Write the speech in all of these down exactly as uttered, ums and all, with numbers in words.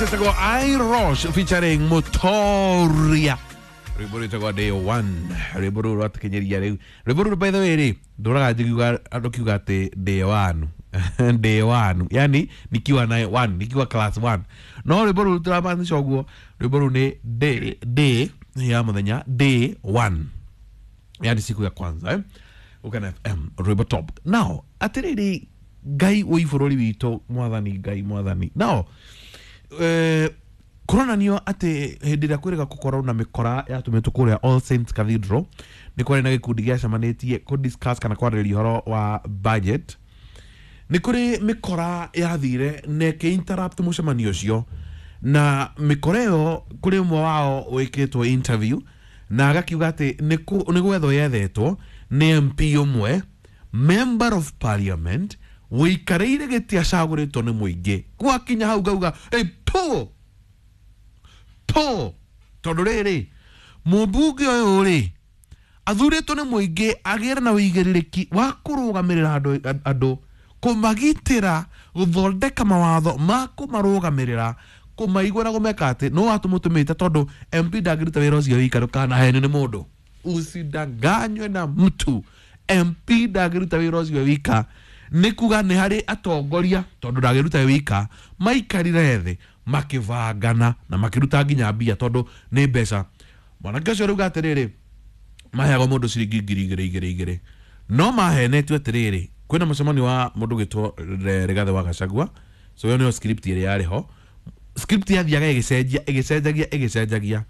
Cetagwo Irosh featuring Mutoria, rwimbo rwĩtagwo Day One. Rwimbo rũrũ rwatũkinyeria rĩu. Rwimbo rũrũ, by the way rĩ, ndũraga njigiuga andũ kiuga atĩ day one, day one, yani nikiwa na one, nikiwa class one. No rwimbo rũrũ tũramaanisha ũguo. Rwimbo rũrũ nĩ day, day ya mũthenya, day one, yani siku ya kwanza, eh? Ukana F M, rwimbo top. Now atiriri, Ngai wĩ bũrũri witũ, Mwathani Ngai, Mwathani. Now eh, kũronanio atĩ hĩndĩ ĩrĩa kwĩrĩga gũkorwo na mĩkora yatũmĩtwo kũrĩa All Saints Cathedral, nĩ kwarĩ na gĩkundi gĩacemanĩtie kũ kana kwarĩrĩria ũhoro wa budget. Nĩ kũrĩ mĩkora yathire na ĩkĩ interrupt mũcemanio ũcio, na mĩkora ĩyo kũrĩ ũmwe wao wĩkĩtwo interview na agakiuga atĩ nĩ kũ- nĩ gwethwo yethetwo nĩ M P ũmwe, member of parliament, wĩikarĩire gĩtĩ acagũrĩtwo nĩ mũingĩ. Gwakinya hau ngauga, "Hey, po po," tondũ rĩrĩ, mũmbunge ũyũ rĩ athurĩtwo nĩ mũingĩ agĩre na ũigĩrĩrĩki wa kũrũgamĩrĩra andũ andũ kũmagitĩra, gũthondeka mawatho ma kũmarũgamĩrĩra, kũmaigua na kũmeka atĩ no watũmũtũmĩte, tondũ M P ndangĩruta wĩra ũcio wika. Ndũkanahenio nĩ mũndũ, usidanganywe na mtu. M P ndangĩruta wĩra ũcio wika. Nĩ kuga nĩ harĩ atongoria, tondũ ndangĩruta wika, maikarire thĩ makĩbangana na makĩruta nginya mbia, tondũ nĩ mbeca. Mwanake ũcio rauga atĩrĩrĩ, maheagwo mũndũ ciringi ngiri igĩrĩ igĩrĩ igĩrĩ, no mahenetio atĩrĩrĩ, kwĩna mũcemanio wa mũndũ gwĩtwo Rigathĩ wa Gachagua. So ĩyo nĩyo script ĩrĩa yarĩ ho. Script yathiaga ĩgĩcenjia, ĩgĩcenjagia, ĩgĩcenjagia.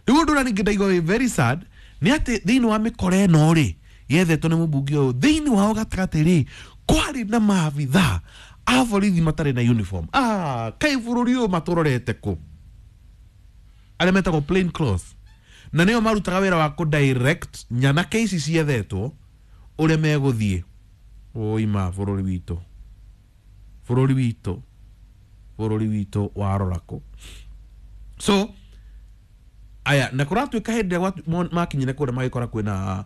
Rĩu ũndũ ũrĩa ningĩ ndaigua wĩ very sad nĩ atĩ thĩinĩ wa mĩkora ĩno rĩ yethetwo nĩ mũmbunge ũyũ, thĩinĩ wao gatagatĩ rĩ kwarĩ na maabitha a borithi matarĩ na uniform. Ah, kai bũrũri ũyũ matũrorete kũ? Arĩa metagwo plain clothes, na nĩo marutaga wĩra wa kũ direct nyanake ici ciethetwo ũrĩa megũthiĩ. Ũima bũrũri witũ, bũrũri witũ, bũrũri witũ warora kũ? So aya na kũratuĩka hĩndĩ ĩrĩa gwatu- mo- makinyire kũrĩa magĩkora kwĩna